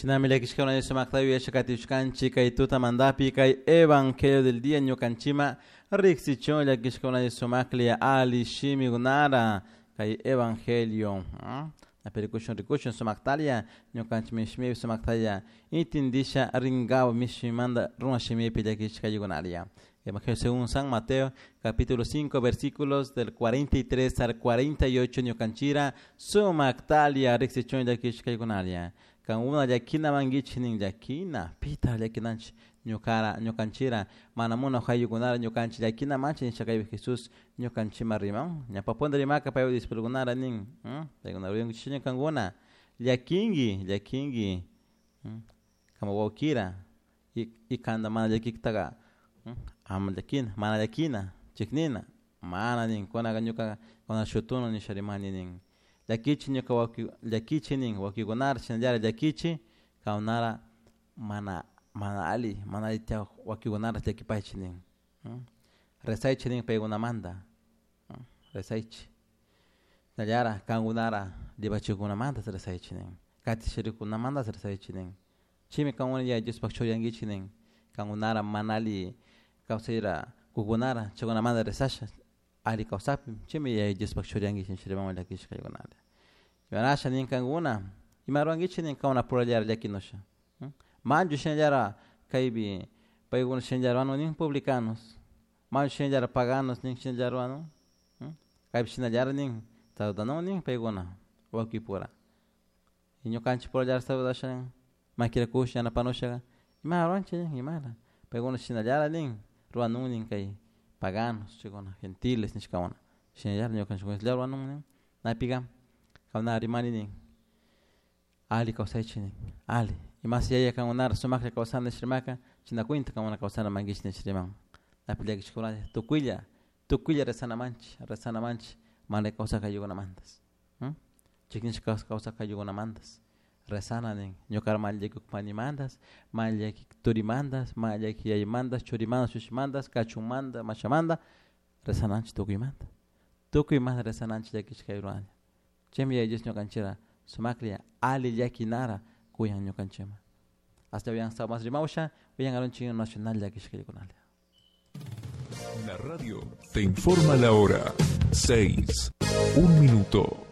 Shinami llakishkuna sumakta yuyashakatishkanchik kay tutamantapi kay evangelio del día ñukanchima riksichun llakishkuna sumaklla ali shimikunara kay evangelio. Rikushun rikushun sumaktalla ñukanchik mishmipi sumaktalla intindisha rinkawa mishmimanta runa shimipi llakishkaykunalla. Evangelio según San Mateo, capítulo 5, versículos del 43 al 48, ñukanchira sumaktalia riksichun llakishkaykunalia. Kankuna llakina mankichik nin llakina, pita llakinanchik ñukara ñukanchira mana munaj ayllukunara ñukanchik llakina manchik nisha kaypi Jesús ñukanchikman riman. Ñawpa rimaka paypa discípulokunara nin, paykuna ruyankichikchu kankuna llakinki, llakinki kama wawkira y kanta mana llakiktaka ama llakina, mana llakina, chiknina, mana nin kunaka ñuka kuna shutuna nisha rimani nin. Llakichi ñuka wawki llakichi nin wawkikunara shinallara llakichi kankunara mana mana ali mana alli tiyak wawkikunara llakipaychik nin. Rezaychik nin paykunamanta, rezaychik. Shinallara kankunara llapachikkunamanta rezaychik nin, katishirikkunamanta rezaychik nin. Chaymi kankuna Yaya Diospak churiyankichik nin, kankunara mana alli kawsayra kukunara chaykunamanta rezasha alli kawsapin chaymi Yaya Diospak churiyankichik nisha riman llakishkaykunata. Imarasha nin kankuna ima rurankichik nin kankuna purallara llakinusha. Manchu shinallara kaypi paykuna shinallara ruwanun nin publicanos, manchu shinallara paganos nin shinallara ruwanun, kaypi shinallara nin saludanun nin paykuna wawkipura. Y ñukanchik purallara saludasha nin makirakusha yanapanusha ima ruwanchik nin imara paykuna shinallara nin ruwanun nin kay paganos chaykuna gentiles nishkakuna shinallara ñukanchik ruwanun nin napika kankuna rimani nin ali kawsaychik nin ali imasi yaya kankunara sumaklla kawsana nish rimaka chayna cuenta kankuna kawsana mankichik nish riman. Napi llakishkuna tukuylla tukuylla rezanamanchik rezanamanchik mana kawsak ayllukunamantas, chiknishka kawsak ayllukunamantas rezana nin ñukara mana llakikuk panimantas, mana llakik turimantas, mana llakik yayamantas, churimantas, shushimantas, kachunmanta, mashamanta rezananchik tukuymanta. Tukuymanta rezananchik llakishka ayllukunalla. Chaymi Yaya Dios ñukanchikra sumaklla ali llakinara kuyan ñukanchikman. Hasta uyan mas rimawsha uyan arunchik nacional llakishkaykunalla. La radio te informa la hora 6, 1 minuto.